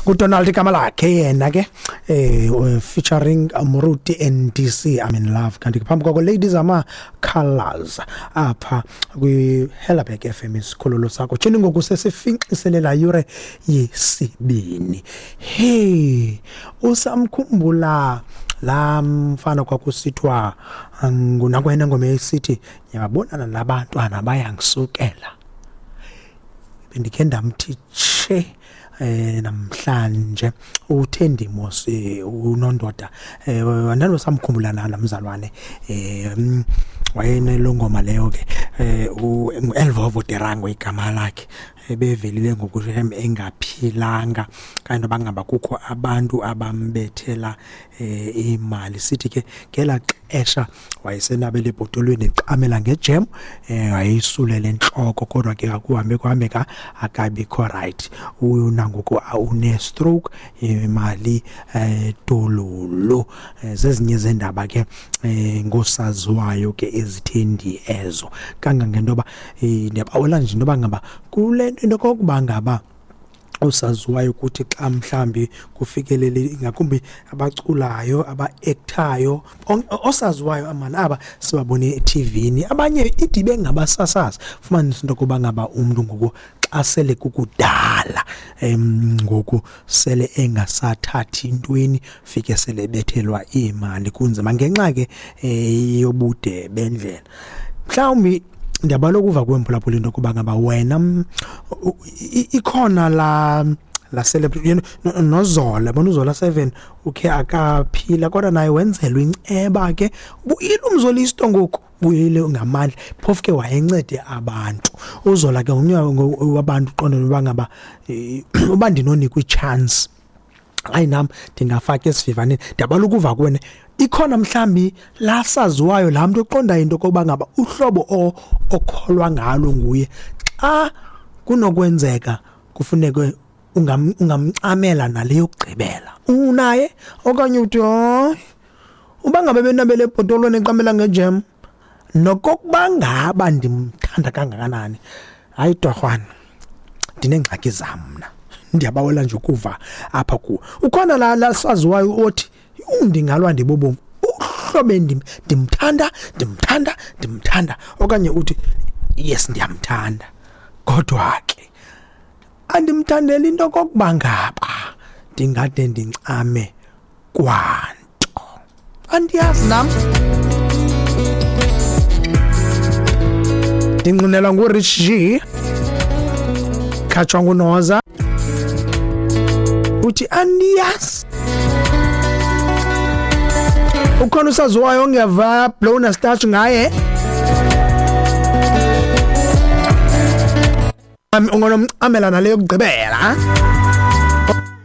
UDonald igama lakhe yena ke, featuring Moruti NDC, "I'm in Love". Kanti phambi kwako, Ladies Ama Colors, apha kwi Helderberg FM, isikhululo sakho. Tshini ngoku sesifinqiselela yure yesibini. Hey, usamkhumbula laa mfana kwakusithiwa ngunakwena, ngoma esithi "Ndiyabonana nabantwana bayangisukela"? Bendikhe ndamthi tshe namhlanje uThendi mos, unondoda, andanosamkhumbula na lamzalwane? Wayenelo ngoma leyo ke, ngu-Elvovo Derango igama lakhe. Ebevelile ngoku engaphilanga, kanti bangaba kukho abantu abambethela imali. Sithi ke ngelaa xesha wayesenabele ebhotolweni, ecamela ngejem, wayeyisulele entloko, kodwa ke akuhambe kuhambeka akabikho right. Unangoku une-stroke, imali dololo. Zezinye zendaba ke ngosaziwayo ke ezithendi ezo, kangangento yoba ndiyabawela nje into yoba ngaba kule nto, into kokuba ngaba osaziwayo ukuthi xa mhlambi kufikelele, ngakumbi abaculayo, aba-act-ayo, osaziwayo amana aba sibabone e-TV-ni, abanye ide bengabasasazi, fumanisa into yokuba ngaba umntu ngoku xa sele kukudala ngoku sele engasathathi ntweni, fike sele bethelwa iimali, kunzima ngenxa ke yobude bendlela. Mhlawumbi ndiyabala ukuva kwemphulaphula into yokuba ngaba wena ikhona la celebrity, noZola bona, uZola 7 ukhe akaphila, kodwa naye wenzelwa inceba ke, buyile umzolisto ngoku, buyile ngamandla, phofu ke wayencede abantu. UZola ke ngomnye wabantu uqondela uba ngaba uba ndinonikwa i-chance, hayi nam ndingafaka esivivaneni. Ndiyabala ukuva kuwena, ikhona mhlambi lasaziwayo laa mntu oqondayo into yokokuba ngaba uhlobo okholwa ngalo nguye, xa kunokwenzeka kufuneke ungamcamela nale yokugqibela unaye, okanye uthi hayi, uba ngabe benabele ebhotolweni eqamela ngejem, nokokuba ngaba ndimthanda kangakanani, hayi torhwana, ndineengxaki zam mna. Ndiyabawela nje ukuva apha kuwo, ukhona la saziwayo othi ndingalwa ndibubomi uhlobo ndimthanda, ndimthanda, ndimthanda, okanye uthi yes, ndiyamthanda, kodwa ke andimthandeli into okokuba ngaba ndingade ndincame kwanto, andiyazi nam. Ndingqinelwa nguRich G, khatshwa nguNoza, uthi andiyazi. Ukhona usaziwayo ongeva blown starch ngaye, ungonomcamela nale yokugqibela,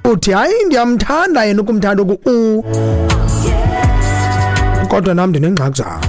uthi hayi, ndiyamthanda yena, ukumthanda oku kodwa nam ndinengxaki zam.